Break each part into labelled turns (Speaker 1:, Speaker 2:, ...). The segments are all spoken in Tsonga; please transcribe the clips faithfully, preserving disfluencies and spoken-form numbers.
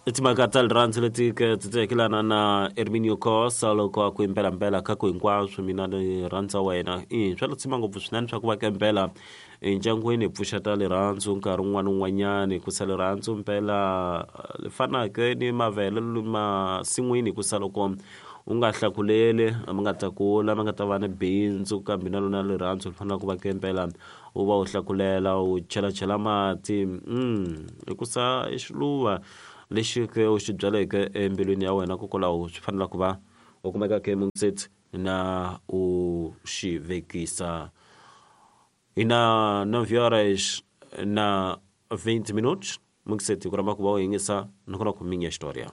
Speaker 1: Timhaka ta rirhandzu leti ti tsekelana na Herminio Costa loko a ku impelampela ka ku hinkwaswo mina ni rhandza wena i swa letsima ngopfu swinene swa ku va kempela endyangwini hi pfuxeta rirhandzu nkarhi wun'wana wun'wanyani ku sa rirhandzu mpela li fanaka ni mavele masin'wini ku sa loko u nga hlakuleli ma nga ta kula ma nga ta va ni bindzu kambe na lona rirhandzu ri fanele ku va kempela u va u hlakulela u chelachela mati mm hikusa i xiluva lexi ke u xi byaleke embilwini ya wena kokwalaho swi fanele ku va u kumeka ke mungiseti na u xi vekisa hi na nove horas na vinte minutos mungiseti ku rhamba ku va u yingisa nakona ku minha história.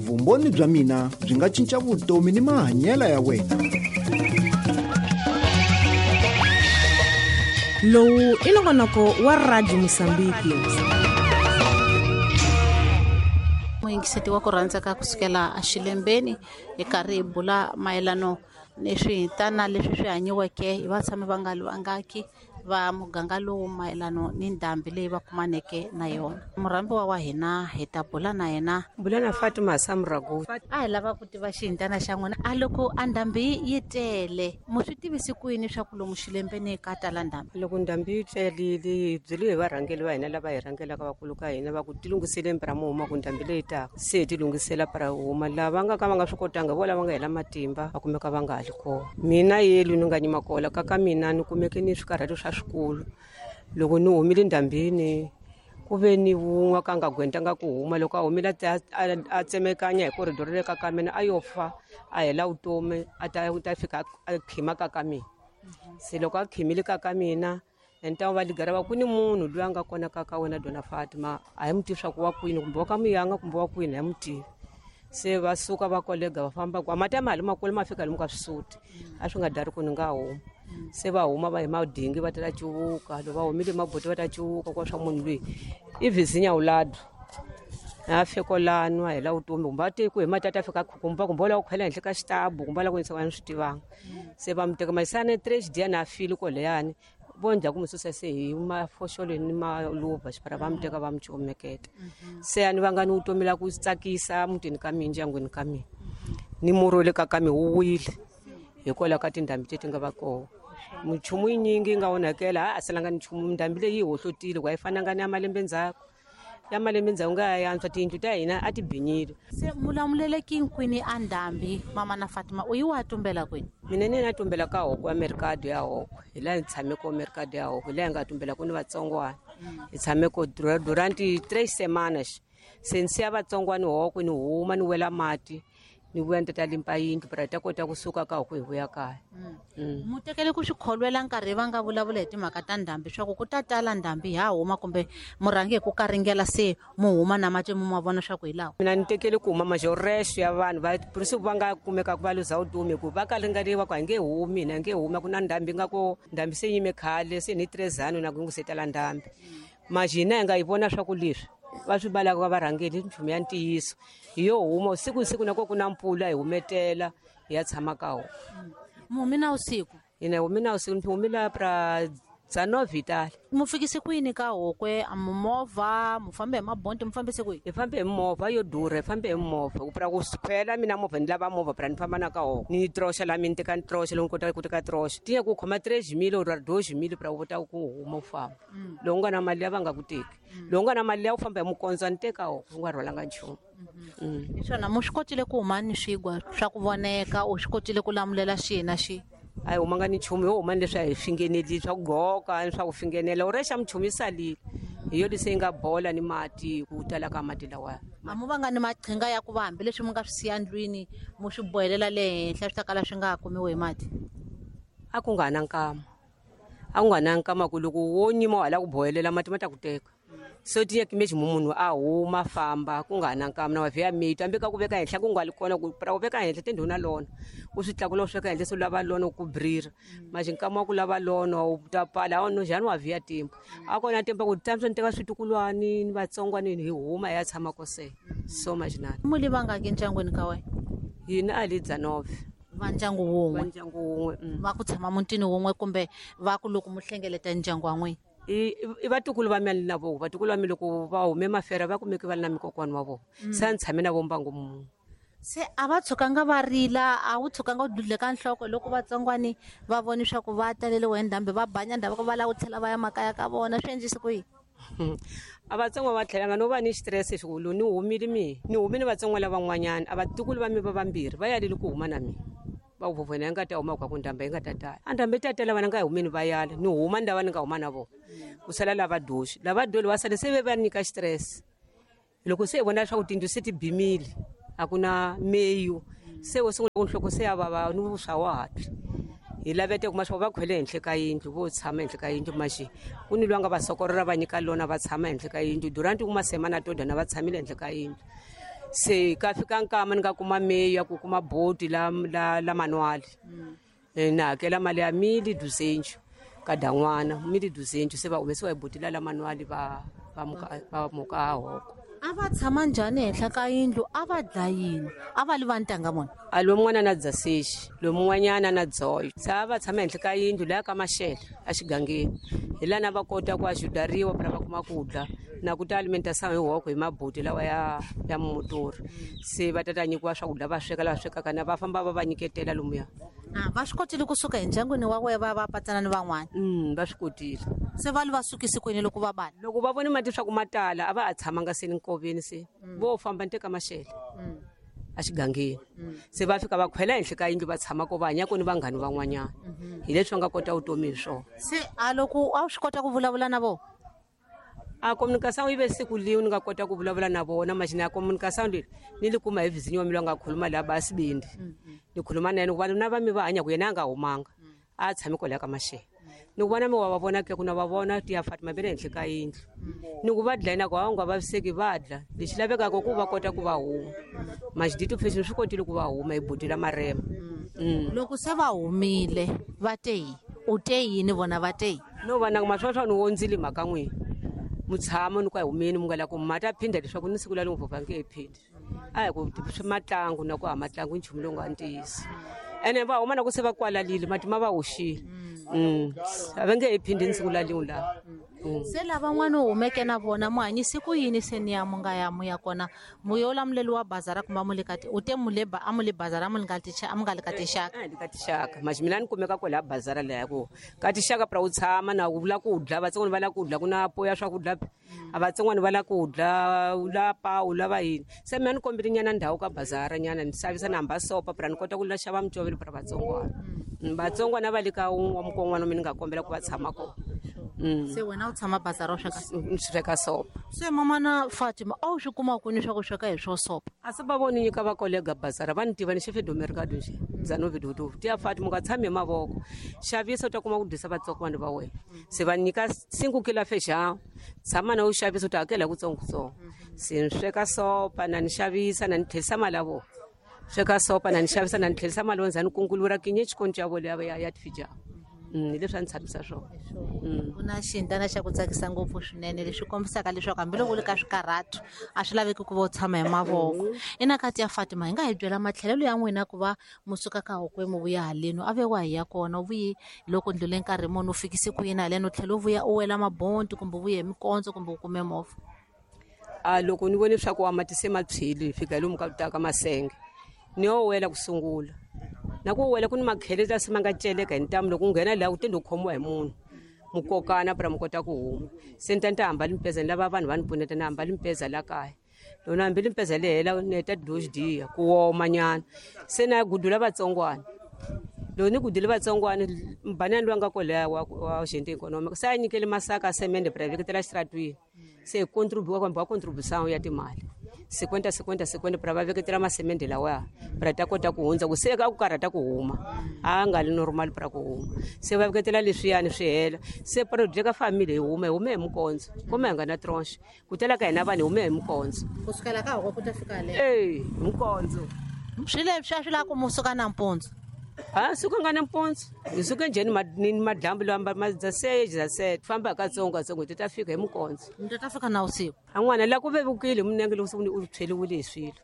Speaker 2: Vumbhoni bya mina byi nga cinca vutomi ni mahanyelo ya wena.
Speaker 3: Lowu i nongonoko wa Radio Mosambiki.
Speaker 4: Muyingiseti wa ku rhandza ka kusukela axilembeni hi karhi hi bula mayelano ni swihintana leswi swi hanyiweke hi vatshami va nga vangaki va muganga lowu mayelano ni ndhambi leyi va kumaneke na yona. Murhambiwa wa hina hi ta bula na yena.
Speaker 5: Bula na Fatima Samrago.
Speaker 4: A hi lava ku tiva xihintana xa n'wina. A loko a ndhambi yi tele mu swi tivisi ku yini swa ku lomu xilembeni ka tala ndhambi?
Speaker 5: Loko ndhambi yi telile hi byeliwe hi varhangeli va hina lava hi rhangelaka vakulu ka hina va ku tilunghisele mpira mo huma ku ndhambi leyi taka se hi tilunghisela para huma lava nga ka va nga swi kotanga vo lava nga hela matimba va kumeka va nga ha li kona. Mina yelu ni nga nyima kola ka ka mina ni kumeke ni swikarhati swa swikulu loko ni humile ndhambini ku ve ni wun'we ka nga gwentanga ku huma loko a humile a tsemekanya hi corridor le ka ka mina a yo fa a hela vutomi a ta ta fika a khima ka ka mina. Se loko a khimile ka ka mina enta va ligara va ku ni munhu loyi a nga kona ka ka wena Dona Fatima a hi mu tivi swa ku wa kwini kumbe wa ka muyanga kumbe wa kwini a hi mu tivi. Se va suka va kolega va famba kwa mati ya mali makulu ma fika lomu ka swisuti a swi nga dari ku ni nga huma. Se va huma va hi madingi va ta cuvuka loko va humile maboti va ta cuvuka kwa swa munhu loyi i vizinya ulado a fika lano a hela vutomi kumbe a te ku hi mati a ta fika kumba kumbe la ku khwela henhla ka xitabu kumbe la ku yisa swi tivanga. Se va mu teka masana tres dia na file koleyani vo ndla ku mu susa se hi mafoxolo ni maluva xipara va mu teka va mu comeketa. Se a ni vanga ni vutomi la ku tsakisa mutini ka mina ndyangwini ka mina ni murhi le ka ka mina wu wile hikwalaho ka tindhambi leti nga va kona. Minchumu yinyingi yi nga onhakela a salanga ni nchumu ndhambi leyi yi hohlotile ku a yi fananga ni ya malembe ndzhaku ya malembe ndzhaku nga ya antswa tiyindlu ta hina a ti binyile.
Speaker 4: Se mulamuleleki kwini a ndhambi mama na Fatima u yi wa tumbela kwini?
Speaker 5: Mina ni na tumbela ka hoko ya mercado ya hoko hi laha hi tshame ko mercado ya hoko hi laha hi nga tumbela ku ni vatsongwana hi tshame ko durante tres semanas se ni siya vatsongwana hoko ni huma ni wela mati ni vuya ni tata limpa yindlu para hi ta kota kusuka ka hoko hi vuya kaya.
Speaker 4: Mu tekele ku swi kholwela nkarhi va nga vulavula hi timhaka ta ndhambi swa ku ku ta tala ndhambi ha huma kumbe murhangi hi ku karingela se mu huma na mati mu ma vona swa ku hi lawa?
Speaker 5: Mina ni tekele ku huma majorexe ya vanhu va principe va nga kumeka ku va luza vutomi ku va karingeriwa ku a nge humi hina nge humi ku na ndhambi nga ko ndhambi se yime khale se ni tres ano na ku se tala ndhambi majina hi nga yi vona swa ku leswi va swi balaka va varhangeli nchumu ya ntiyiso hi yo huma siku siku na ko ku na mpfula hi humetela hi ya tshama ka hona.
Speaker 4: Mu humi na usiku?
Speaker 5: Hina humi na usiku ni humile pra dzanove tala.
Speaker 4: Mu fikise kwini ka hokwe a movha mu fambe hi mabonti mu fambise kwihi?
Speaker 5: Hi fambe hi movha yo durha hi fambe hi movha ku pra ku khwela mina movha ni lava movha pra ni famba na ka hoko ni troxa la mina teka ni troxa loko ni kota ku teka troxa tiya ku khoma tres mil or dois mil pra u kota ku huma u famba. Loko u nga na mali ya va nga ku teki loko u nga na mali ya u famba hi mukondzo ni teka hoko u nga rhwalanga nchumu.
Speaker 4: Hi swona mu swi kotile ku huma ni swigwa swa ku voneka u swi kotile ku lamulela xihi na xihi?
Speaker 5: A hi humanga ni nchumu yo huma ni leswi a hi fingeneli swa ku gqoka ni swa ku fingenela u rexa minchumu yi salile hi yo leswi yi nga bola ni mati ku tala ka mati lawaya.
Speaker 4: A mu vanga ni maqhinga ya ku va hambileswi mu nga swi siya ndlwini mu swi bohelela le henhla swi ta kala swi nga ha kumiwi hi mati?
Speaker 5: A ku nga na nkama a ku nga na nkama ku loko wo nyima wa hala ku bohelela mati ma ta ku teka. So tiya kimeji munhu a huma famba ku nga na nkama na wa vhiya miti hambi ka ku veka henhla ku nga li kona ku pra ku veka henhla tindhuna lona u swi tlakula u swi veka henhla se u lava lona ku brira manje nkama wa ku lava lona u ta pala a no njhani wa vhiya timba a kona timba ku tamsa ni teka switukulwani ni vatsongwani hi huma hi ya tshama kose so majinani.
Speaker 4: Mu li vangaki ndyangwini ka wena?
Speaker 5: Hina a li dzanove
Speaker 4: va ndyangu wun'we
Speaker 5: va ndyangu wun'we
Speaker 4: va ku tshama mutini wun'we kumbe va ku loko mu hlengeleta ndyangu wa n'wina?
Speaker 5: I i vatukulu va mina na vo vatukulu va mina loko va hume mafera va kumeke va ri na mikokwani wa vona se a ni tshame na vo mbangu munhu
Speaker 4: se a va tshukanga va rila a wu tshukanga u dudleka nhloko loko vatsongwani va voni swa ku va taleliwe hi ndhambi va banya ndhavuko va lava ku tlhela va ya makaya ka vona swi endlise ku yini
Speaker 5: a vatsongo va tlhelanga no va ni stress xikulu ni humile mi ni humile vatsongo lavan'wanyana a vatukulu va mi va vambirhi va yalile ku huma na mina va ku vovona yi nga ta huma kwa ku ndhambi yi nga ta tala a ndhambi yi ta tala vana nga hi humeni va yala ni huma ni lava ni nga huma na vona ku sala lava doxi lava doli va sale se ve va nyika stress loko se hi vona leswaku tindlu se ti bimile a ku na meyu se wo sungula ku nhloko se ya vava ni vuswa wa hatla hi lavete kuma swa va khwele henhla ka yindlu vo tshama henhla ka yindlu maxi ku ni lwanga va sokorora va nyika lona va tshama henhla ka yindlu durant kuma semana to dana va tshamile henhla ka yindlu se ka fika nkama ni nga kuma meyu ya ku kuma boti la la la manuali na hakela mali ya mili duzenju ka dan'wana mili duzenju se va humesiwa hi boti la la manuali va va muka va muka hoko
Speaker 4: a va tshama njhani henhla ka yindlu a va dla yini a va li va ntanga vona
Speaker 5: a lomun'wana na dzasexi lomun'wanyana na dzoyo se a va tshama henhla ka yindlu laya ka maxele exigangeni hi lana va kota ku ajudariwa pra va kuma ku dla na ku ta alimentação hi hoko hi mabuti lawa ya ya motori se va tata nyikiwa swakudya va sweka lava swekaka na va famba va va nyiketela lomuya
Speaker 4: a va swi kotile kusuka endyangwini wa wena va va patsana ni van'wana
Speaker 5: mm va swi kotile
Speaker 4: se va li va sukisi kwini loko va bana
Speaker 5: loko va vone mati swa ku matala a va a tshamanga se ni nkoveni se vo famba ni teka maxele exigangeni se va fika va khwela henhla ka yindlu va tshama ko va hanya ku ni vanghani van'wanyana hi leswi va nga kota vutomi hi swona
Speaker 4: se a loko a wu swi kota ku vulavula na vona
Speaker 5: a communication yi ve siku liwe ni nga kota ku vulavula na vona maxina ya communication leyi ni li kuma hi vizinyo wa mina nga khuluma laha ba sibindi ni khuluma na yena ku vanhu na va mi va hanya ku yena a nga humanga a tshami kwalaya ka maxele ni ku vona mi wa va vona ke ku na va vona ti ya Fatima ve le henhla ka yindlu ni ku va dlayina ku a wu nga vaviseki va dla lexi lavekaka ku va kota ku va huma maxidito fashion swi kotile ku va huma hi buti la marema
Speaker 4: loko se va humile va te yi u te yini vona va te yi
Speaker 5: no vana maswaswa ni wondzile mhaka n'wina mutshamo ni ku a humeni mu nga la ku mata phinda leswaku ni siku la ni vova nge phindi a hi ku swi matlangu na ku ha matlangu nchumu lowu nga ntiyiso ene va huma na ku se va kwalalile mati ma va hoxile mm a va nge he phindi ni siku la lin'we laha
Speaker 4: se lavan'wana u humeke na vona mu hanyise ku yini se ni ya mu nga ya mu ya kona mu yo lamuleliwa bazara kumbe a mu le ka u te mu le a mu le bazara a mu nga ti a mu nga le ka tinxaka
Speaker 5: a le ka tinxaka maxi mina ni kumeka kwala bazara leya ku ka tinxaka pra u tshama na u vula ku dla vatsongwana va la ku dla ku na po ya swakudya a vatsongwana va la ku dla u la pa u lava yini se mina ni kombile nyana ndhawu ka bazara nyana ni xavisa na hamba sopa pra ni kota ku la xava micovelo pra vatsongwana vatsongwana va le ka wa mukon'wana mina ni nga kombela ku va tshama kona
Speaker 4: se wena u tshama bazara u sweka
Speaker 5: ni sweka sopa
Speaker 4: se mamana Fatima a wu swi kuma kwini swa ku sweka hi swo sopa
Speaker 5: a se va voni nyika va kolega bazara va ni tiva ni xefe domerikado nje zanovidodo ti ya Fatima u nga tshami hi mavoko xavisa u ta kuma ku dyisa vatsongwana va wena se va nyika cinco kilo feijão tshama na u xavisa u ta hakela kutsongokutsongo se ni sweka sopa na ni xavisa na ni tlherisa mali ya vona sweka sopa na ni xavisa na ni tlherisa mali wa ni kungulura kinye xikoncho ya vona ya ya tifijao hi leswi a ni tshamisa swona
Speaker 4: ku na xintana xa ku tsakisa ngopfu swinene leswi kombisaka leswaku hambiloko u le ka swikarhatu a swi laveki ku va u tshama hi mavoko ina kati ya Fatima hi nga hi byela matlhelelo ya n'wina ku va musuka ka hokwe mu vuya haleni a ve wa hi ya kona u vuyi loko ndlule nkarhi muni u fikise ku yini haleni u tlhela u vuya u wela mabonti kumbe u vuye hi mikondzo kumbe u kume movha
Speaker 5: a loko ni vone swa ku a mati se ma tshwile hi fika lomu ka ta ka masenge ni yo wela ku sungula na ku wela ku ni makhele la se ma nga celeka hi ntamu loko u nghena laha u tende u khomiwa hi munhu mukokana pra mi kota ku huma se ni ta ni ta hamba limpeza ni lava vanhu va ni pfuneta ni hamba limpeza la kaya loko ni hambi limpeza le hela ni heta dox diya ku woma nyana se na ya gudula vatsongwana loko ni gudile vatsongwana mbanani loyi a nga kwalaya wa wa gente economic se a nyikele masaka a semende pra veketela xitaratwini se hi contribuwa kumbe wa contribution ya timali cinquenta cinquenta cinquenta pra va veketela masemende lawaya pra ta kota ku hundza ku se ka ku karhata ku huma a nga li normal pra ku huma se va veketela leswiyani swi hela se project ka family hi huma hi hume hi mikondzo kuma hi nga na tronche ku tela ka hina vanhu hi hume hi mikondzo
Speaker 4: kusukela ka hoko ku ta fika le
Speaker 5: eh mikondzo
Speaker 4: swi leswi a swi lava ku musuka nampundzu
Speaker 5: a suka nga nampundzu hi suke njhani ni madlambu lawa ma dza se dza se famba katsongo katsongo ti ta fika hi mikondzo
Speaker 4: mi ta fika na usiku
Speaker 5: a n'wana la ku vevukile minenge loko se u tshweliwile hi swilo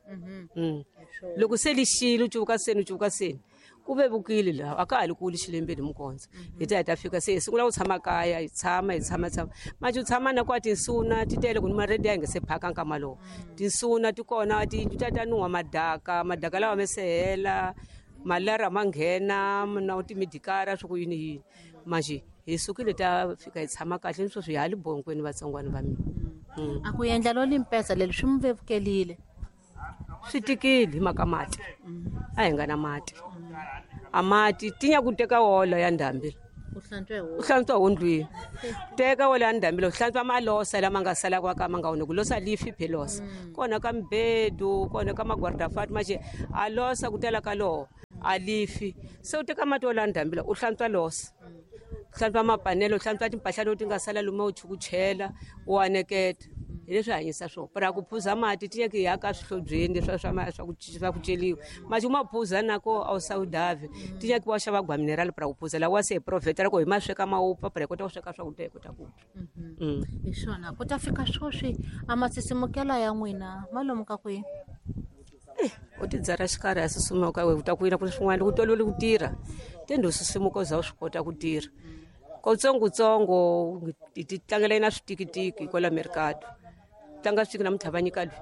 Speaker 5: loko se lixile u cuvuka seni u cuvuka seni Ku vevukile laha a ka ha li kuli xilembeni mukondza hi ta hi ta fika se hi sungula ku tshama kaya hi tshama hi tshama tshama manje u tshama na kwa tinsuna ti tele ku ni maredi ya hi nga se phaka nkama lowu tinsuna ti kona tiyindlu ta ta nuha madaka madaka lawa me se hela malara ma nghena na timidikara swi ku yini yini manje hi sukile ta fika hi tshama kahle ni sweswi hi ha li bonkweni vatsongwana va mina.
Speaker 4: A ku endla lo limpesa leri swi mi vevukelile?
Speaker 5: Swi tikile hi mhaka mati a hi nga na mati a mati tinya ku teka wola ya ndhambi
Speaker 4: u hlantswa
Speaker 5: u hlantswa hondlwini teka wola ya ndhambi u hlantswa malosa lama nga sala kwa ka ma nga oneki losa lifi phelosa kona ka mbedu kona ka magwardafati maxe a losa ku tela ka loho a lifi se u teka mati wola ya ndhambi u hlantswa losa u hlantswa mapanelo u hlantswa timpahla leti nga sala luma u chukuchela u aneketa hi leswi hanyisa swona para ku phuza mati ti nyaki ya ka swihlobyeni swa swa swa ku swa ku celiwa mati u ma phuza nako a wu sawudavi ti nyaki wa xava gwa mineral para ku phuza lawa wa se hi profeta loko hi ma sweka ma wupfa para hi kota ku sweka swakudya hi kota ku
Speaker 4: dya. Hi swona ku ta fika sweswi a masisimukela ya n'wina ma lomu ka kwihi?
Speaker 5: U ti dzara xikarhi a susumuka u ta ku yina ku swin'wana loko tolovele ku tirha tende u susumuka u za u swi kota ku tirha kotsongotsongo hi ti tlangela na switikitiki kwala mercado tlanga switiki namuntlha va nyika loyi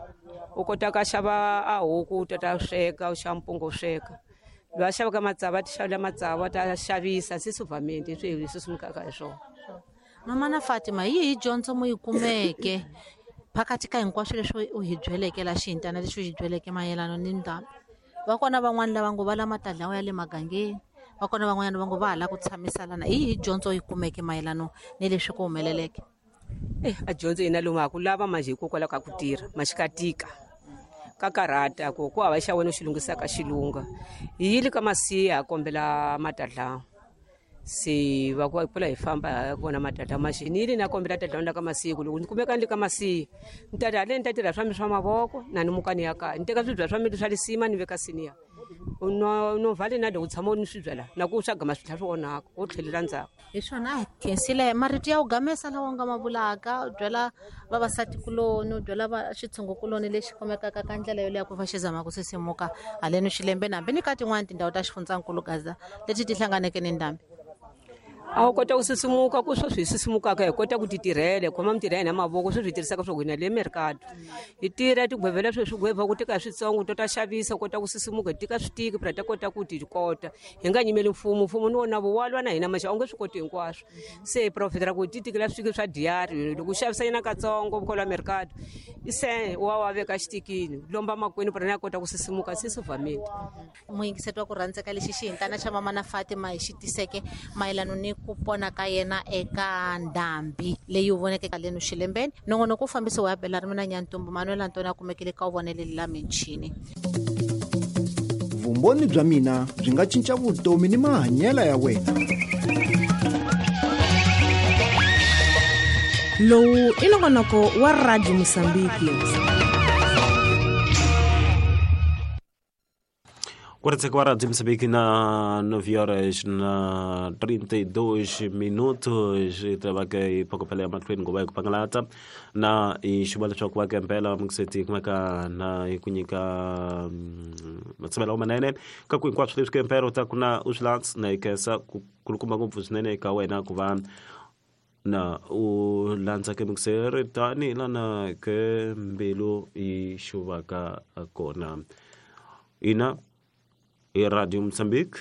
Speaker 5: u kota ka xava a huku u ta ta sweka u xava mpunga u sweka loyi a xavaka matsavu a ti xavela matsavu a ta xavisa se suvamente swi hi susumukaka hi swona.
Speaker 4: Mama na Fatima hi yihi dyondzo mu yi kumeke phakathi ka hinkwaswo leswi u hi byeleke la xihintana lexi u hi byeleke mayelana ni ndhambi? Va kona van'wani lava ngo va la matadlawa ya le magangeni va kona van'wanyana va ngo va ha lava ku tshamisalana hi yihi dyondzo yi kumeke mayelana ni leswi ku humeleleke?
Speaker 5: Eh a dyondzo yina lomu ha ku lava manje hikokwalaho ka ku tirha maxi ka tika ka karhata ku ku hava xa wena u xi lunghisaka xilunga hi yile ka masiya ha kombela matadlawa se va ku pfula hi famba hi vona matadlawa maxi ni yile na kombela tadlawa la ka masiya ku loko ni kumeka ni le ka masiya ni ta haleni ni ta tirha swa mi swa mavoko na ni muka ni ya kaya ni teka swibya swa mi swa lisima ni veka siniya no no vale na loko tshama ni swibya la na ku swa gama swi tlhela swi onhaka wo tlhelela ndzhaku.
Speaker 4: Hi swona a hi khensile marito ya ku gamesa lawa u nga ma vulaka u byela vavasati kuloni u byela va xitshungukuloni lexi kumekaka ka ndlela yoleyo ku va xi zama ku sisimuka haleni xilembeni hambi ni ka tin'wani tindhawu ta xifundzankulu Gaza leti ti hlanganeke ni ndhambi.
Speaker 5: A wu kota ku sisimuka ku sweswi hi sisimukaka hi kota ku ti tirhela hi khoma mitirho ya hina mavoko sweswi hi tirhisaka swo hina le mercado hi tirha tigwevela sweswi gwevha ku teka switsongo to ta xavisa u kota ku sisimuka hi tika switiki pra ta kota ku ti kota hi nga nyimeli mfumo mfumo ni wona vo wa lwa na hina maxe a wu nge swi koti hinkwaswo se hi profitela ku ti tikela switiki swa diyari loko u xavisa yena katsongo kwala mercado se wa wa veka xitikini lomba makwenu pra na kota ku sisimuka se sivamile.
Speaker 4: Muyingiseti wa ku rhandzeka lexi xihintana xa mama na Fatima hi xi tiseke mayelana ni ku pona ka yena eka ndhambi leyi u voneke haleni xilembeni nongonoko wu fambisiwa ya Bela ri mina Nyantumbu Manuel Antoni a kumekile ka wu voneleli la michini.
Speaker 2: Vumbhoni bya mina byi nga cinca vutomi ni mahanyelo ya wena.
Speaker 3: Lowu i nongonoko wa Radio Mosambiki.
Speaker 1: quarenta e quatro Moçambique na nove horas na trinta e dois minutos tabaka ipokopela ya mahlweni ngoba ku pangalata na ixuba leswaku va kempela mukiseti kumeka na ku nyika matshemelo manene ka ku hinkwaswo leswi kempela u ta ku na u swi landza na ikesa ku kulukumba ngopfu swinene eka wena ku va na u landza ke mukiseri tani lana ke mbilu yi xuvaka kona ina i Radio Mozambique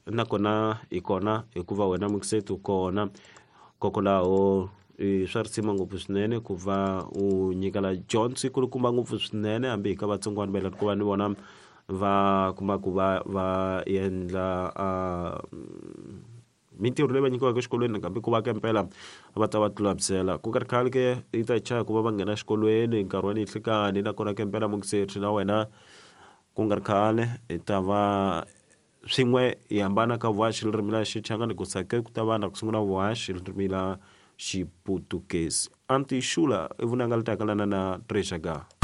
Speaker 1: nakona hi kona hikuva wena mukiseti u kona kokwalaho swa risima ngopfu swinene ku va u nyikela dyondzo yi kulukumba ngopfu swinene hambi hi ka vatsongwana va ku va ni vona va kuma ku va va endla mintirho leyi va nyikiwaka exikolweni nakambe ku va kempela va ta va tlulamisela ku nga ri khale ke yi ta chaya ku va va nghena exikolweni nkarhi wa ninhlikani nakona kempela mukiseti na wena ku nga ri khale hi ta va swin'we hi hambana ka vuhaxi ririmi la Xichangani ku sake ku ta va na ku sungula vuhaxi ririmi la Xiputukezi Antixula i vunanga li takalana na Treasure.